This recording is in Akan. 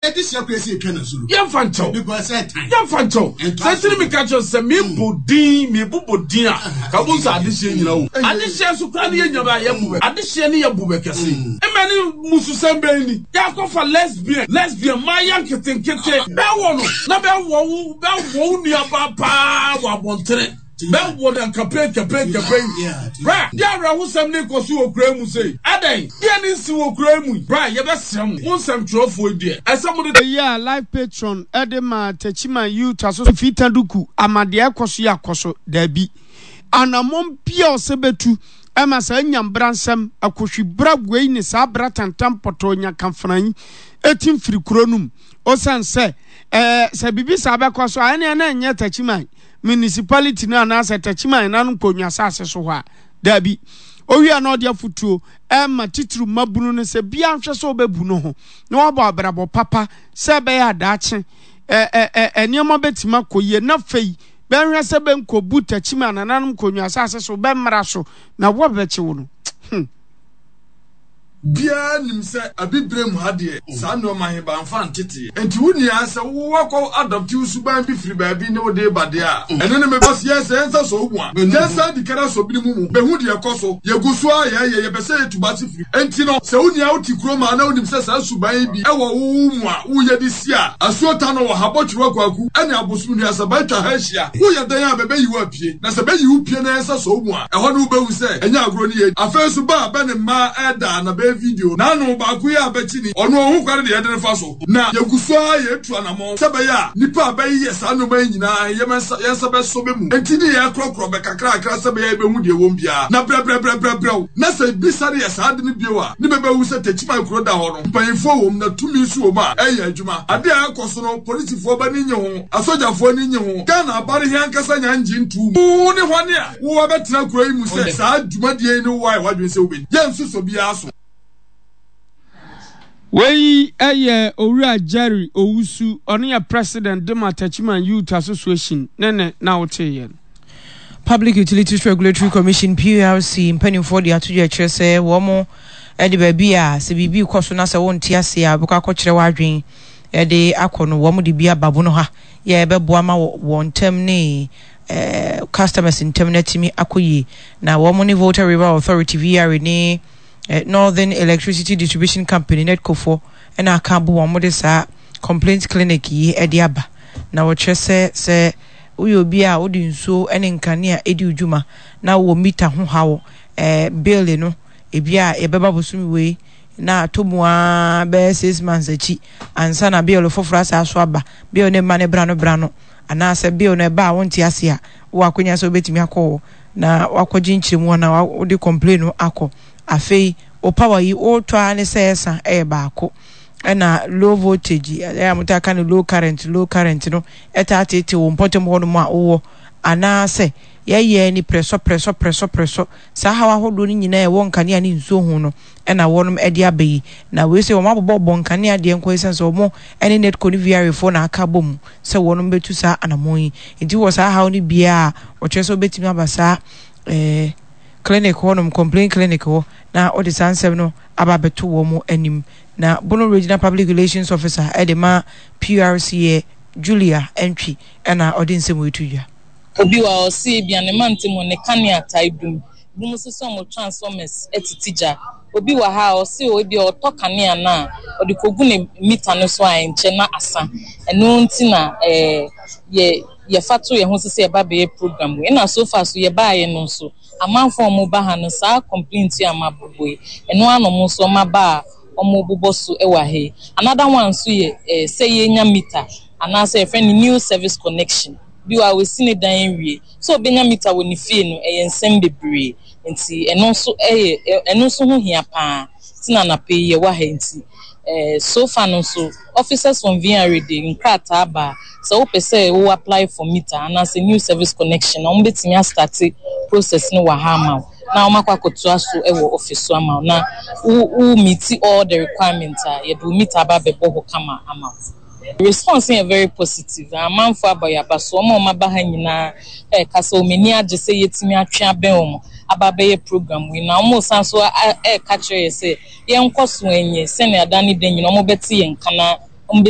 Yɛmfa nkyɛw. Yɛmfa nkyɛw. Sɛ nti ne meka kyerɛ sɛ mebɔ din, mebobɔ din a, ka bo sɛ adehyeɛ nyina wo. Adehyeɛ nso koraa ne yɛnya bɛ a yɛbu bɛ. Adehyeɛ ne yɛbu bɛ kɛse. Mmɛ ne mmususɛm bɛn ni? Yɛakɔfa lesbian, lesbian, mmaayɛ nketenkete. Bɛwɔ no na bɛwɔ wo, bɛwɔ wo nuabaa paa wɔ abɔntene. Bɛwɔ no nkapɛn nkapɛn nkapɛn. Bra, deɛ awerɛhosɛm ne kɔ so wɔ kura mu sei. Adɛn? Deɛ ne nsi wɔ kura mu yi. Bra, yɛbɛsrɛ mo, mo nsɛmtwerɛfoɔ yi deɛ, ɛsɛ mode. Eyi a Life Patron de maa Techiman Youth Association Fita Duku ama deɛ ɛkɔ so yi akɔ so? Dabi. Anammɔn biara a ɔsɛ bɛtu ma saa nyambransɛm, akohwibra wei ne saa bra tantan pɔtɔɔ nyakamfena yi ɛtim firi kuro no mu. Osiane sɛ, ɛɛ, sɛ biribi saa bɛkɔ so a, ɛneɛ na ɛnyɛ Techiman municipality no anaasɛ Techiman nananom nkonnwa asase so hɔ a, daabi. Owie a na ɔde afotuo ɛma titiriw mmabunu no sɛ biara nhwɛ sɛ ɔbɛbu no ho na wabɔ abrabɔ papa sɛ ɛbɛyɛ a daakye ɛ ɛ ɛ nneɛma bɛtumi akɔ yie na afei bɛnhwɛ sɛ bɛnkɔbu Techiman nananom nkonnwa asase so bɛmmra so na wɔbɛkye wo no. Hmm. Biaa nim sɛ Abibirem ha deɛ saa nnoɔma he bɛamfa anteteɛ. Nti wo nua sɛ wo wakɔ adɔpte wo suban bi firi baabi ne wode reba deɛ a, ɛno ne me Because yɛn sɛ yɛnsa sɔ wo mu a, yɛnsan di kan asɔ binom mu bɛhu deɛ ɛkɔ so. Yɛgu so ara yɛɛyɛ, yɛpɛ sɛ yɛtu base firi. Nti no, sɛ wo nua wote kurom a na wonim sɛ saa suban yi bi wɔ wo wo mu a woyɛ de si a, asuo ta no wɔ ha, Bɔtwerewa Kwaku ne Abosom Nnuasaban atwa ha ahyia. Woyɛ dɛn a bɛbɛyi wo apue? Na sɛ bɛyi wo pue na yɛnsa sɔ wo mu a, ɛhɔ no wobɛhu sɛ ɛnyɛ agorɔ ne yɛdi. Afei nso ba a bɛ ne mmaa ɛɛda na bɛyɛ video na ano baako yi a bɛkyi ni, ɔno ɔhu kwane deɛ yɛde no fa so. Na yɛgu so ara yɛretu anamɔn sɛ ɛbɛyɛ a nnipa a bɛyeyɛ saa nnoɔma yi nyinaa he yɛmɛ nsa yɛn nsa bɛsɔ bɛ mu. Enti ne yɛɛkorɔkorɔ bɛ kakrakra sɛ ɛbɛyɛ a yɛbɛhu deɛ ɛwom biara. Na brɛbrɛbrɛbrɛbrɛw na sɛ bi sane yɛ saa ade no bio a, ne bɛbɛhu sɛ Techiman kuro da hɔ no, mpanyimfoɔ wom na tumi nso wom a ɛɛyɛ adwuma. Adeɛ a ɛɛkɔ so no, polisifoɔ bɛ ani nnye ho. Asogyafoɔ ani nnye ho. Ghana aba no he ankasa nya nngye ntoo mu. Wo ne hwane a wo abɛtena kuro yi mu sɛ saa dwumadie yi ne wo ayɛ w'adwene sɛ wobɛdi? Yɛnsosɔ biara so. Wei yɛ Owura Jerry Owusu, ɔno yɛ President de ma Techiman Youth Association ne ne na woteeɛ no. Public Utilities Regulatory Commission, PURC, mpanimfoɔ de ato dwa kyerɛ sɛ wɔn de baabi a sɛ biribi rekɔ so na sɛ wonte aseɛ a wobɛkɔ akɔkyerɛ w'adwene de akɔ no wɔn de bi aba bono ha yɛ ɛbɛboa ma wɔn ntam ne eh, customers ntam no atumi akɔ yie na wɔn ne Volta River Authority VRA ne eh, Northern Electricity Distribution Company NEDCO foɔ ɛna aka abo wɔn de saa complaint clinic yi de aba na wɔkyerɛ sɛ sɛ woyɛ obi a wode nsuo ne nkanea di wo dwuma na wowɔ mita ho haw eh, bill no ebi a yɛbɛba bosome wei na atɔ mu ara bɛyɛ 6 months akyi ansa na bill foforɔ asan so aba. Bill no mma no bra no bra no, anaasɛ bill no ɛba a wonte ase a, wowɔ akwanya sɛ wobɛtumi akɔ hɔ na wakɔgye nkyerɛmu anaa wode complain no akɔ. Afei wo power yi wotɔ ara ne sɛ ɛsa ɛyɛ baako ɛna low voltage ɛyɛ a motaa ka no low current low current no ɛtaa tete wo mpɔtam hɔnom a wowɔ anaasɛ yɛyɛ ni prɛsɔ prɛsɔ prɛsɔ prɛsɔ. Saa haw ahodoɔ no nyinaa a ɛwɔ nkanea ne nsuo ho no na wɔnom de aba yi. Na wei sei wɔn abobɔ bɔ nkanea deɛ nko esiane sɛ wɔn ne NEDCO ne VRA foɔ na aka abɔ mu sɛ wɔnom bɛtu saa anamɔn yi. Nti wɔ saa haw no biara a wɔkyerɛ sɛ wobɛtumi aba saa eh, clinic hɔnom, complaint clinic hɔ na wɔde saa nsɛm no aba abɛto wɔn anim. Na Bono Regional Public Relations Officer de ma PRC yɛ Julia Antwi na ɔde nsɛm wei to dwa. Obi wɔ ha ɔse ebia ne mantam hɔ ne kanea taa dum, binom nso sɛ wɔn transformers tete gya. Obi wɔ ha a ɔse o ebia ɔtɔ kanea no a ɔde kɔgu ne meter no so a ɛnkyɛ na asa. Ɛno nti na eh, yɛ yɛfa to yɛn ho so sɛ yɛba bɛyɛ program wei. Ɛna so far so yɛbaeɛ no nso amanfoɔ a wɔba ha no saa complaint yi a mabobɔ yi ɛno ara na wɔn nso wɔaba a wɔbobɔ so wɔ ha yi. Another one nso yɛ eh, sɛ yɛnya meter anaasɛ yɛfrɛ no new service connection. Bi wɔ hɔ a, wasi ne dan awie. Sɛ ɔbɛnya mita wɔ ne fie no, ɛyɛ nsɛm bebree. Nti ɛno nso yɛ, ɛno nso ho hia pa ara. Nti na anapa yi yɛwɔ ha yi. Nti eh, so far no nso, officers from VRA de nkrataa aba a, sɛ wopɛ sɛ wo apply for meter anaasɛ new service connection a, wɔbɛtumi astarte process no wɔ ha ama wo, na wɔakɔ akɔtoa so wɔ office so ama wo, na wo, wo meeti all the requirements a, yɛde wo meter aba abɛbɔ hɔ kama ama wo. Response no yɛ very positive. Amanfoɔ abɔ yɛn aba so. Wɔn a wɔaba ha nyinaa reka sɛ wɔn ani agye sɛ yɛatumi atwe abɛn wɔn aba abɛyɛ program yi. Na wɔresan nso reka kyerɛ yɛn sɛ yɛnkɔ so nyɛ sɛnea da ne da nyinaa wɔbɛte yɛn nka na. Wɔbɛtumi.